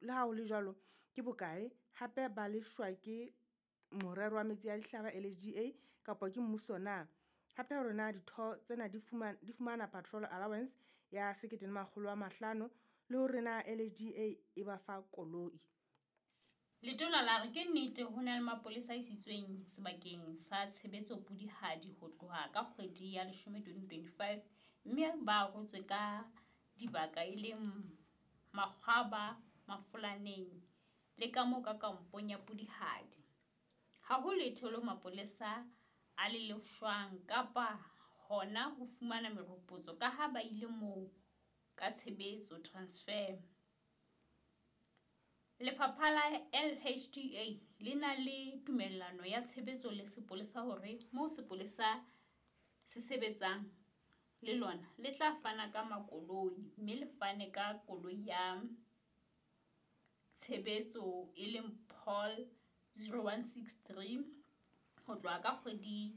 Le ha ho le jwalo, ke bokae? Hape ba lefshwa ke morero wa metsi a dihlaba LHDA kapa ke mmuso na? Hape hore na ditho tsena di fumana patrol allowance ya 1500 le hore na LHDA e ba fa koloi. Letona la re ke nnete ho na le mapolesa a isitsweng sebakeng sa tshebetso Pudihadi ho tloha ka kgwedi ya leshome 2025 mme ba arotswe ka dibaka e leng Makgwaba, Mafolaneng le ka moo ka kampong ya Pudihadi. Ha ho letho leo mapolesa a le lefshwang kapa hona ho fumana meropotso kaha ba ile moo ka tshebetso, transfer. Lefapha la LHDA le na le tumellano ya tshebetso le sepolesa hore moo sepolesa se sebetsang le lona le tla fana ka makoloi mme le fane ka koloi ya tshebetso e leng Paul 0163 ho tloha ka kgwedi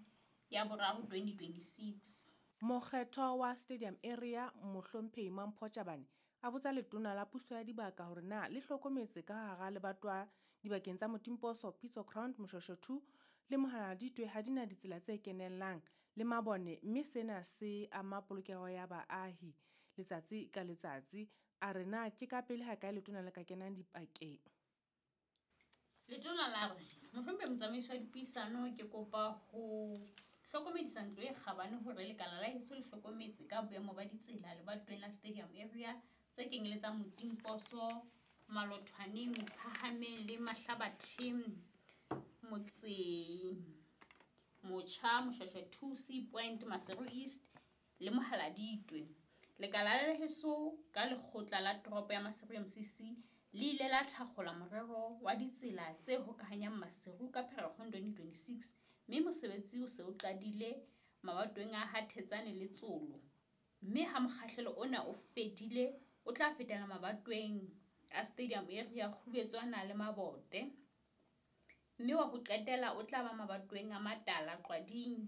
ya boraro 2026. Mokgethwa wa Stadium Area Mohlomphehi Mampho Tjabane a botsa letona la puso ya dibaka hore na le hlokometse ka hara lebatowa dibakeng tsa Motimposo, Pitso Ground, Moshoeshoe 2 le Mohaladitwe ha di na ditsela tse kenellang le mabone mme sena se ama polokeho ya baahi letsatsi ka letsatsi. A re na ke ka pele hakae letona le ka kenang dipakeng? Letona la re, Mohlomphehi Motsamaisi wa Dipuisano ke kopa ho hlokomedisa ntlo e kgabane hore lekala la heso le hlokometse ka boemo ba ditsela lebatoweng la Stadium Area tse kenyeletsang Motimposo, Malothwaneng, Phahameng le Mahlabatheng motseng Motjha, Moshoeshoe 2, Sea Point, Maseru East le Mohaladitwe. Lekala la heso ka lekgotla la toropo ya Maseru MCC le ile la thakgola morero wa ditsela tse hokahanyang Maseru ka Pherekgong 2026 mme mosebetsi o se o qadile mabatoweng a ha Thetsane le Tsolo mme ha mokgahlelo ona o fedile o tla fetela mabatoweng a Stadium Area, Kgubetswana le Mabote mme wa ho qetela o tla ba mabatoweng a Matala, Qwading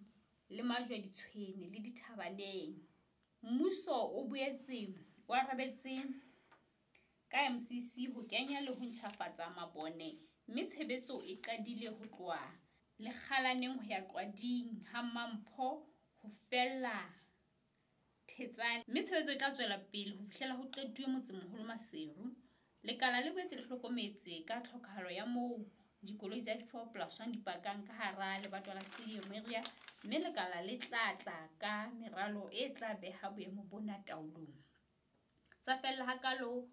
le Majweditshwene le Dithabaneng. Mmuso o boetse o arabetse ka MCC ho kenya le ho ntjhafatsa mabone mme tshebetso e qadile ho tloha Lekgalaneng ho ya Qwading ha Mampho ho fella Thetsane mme tshebetso e tla tswela pele ho fihlela ho qetuwe motsemoholo Maseru. Lekala le boetse le hlokometse ka tlhokahalo ya moo dikoloi tsa di-4+1 di pakang ka hara lebatowa la Stadium Area mme lekala le tla tla ka meralo e tla beha boemo bona taolong. Tsa fella hakalo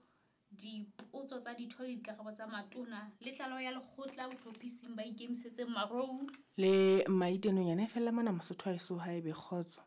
dipotso tsa ditho le dikarabo tsa matona le tlaleho ya lekgotla bohlophising ba ikemisetseng Marou Le maite nonyana e fella mona Mosotho haeso ha ebe kgotso.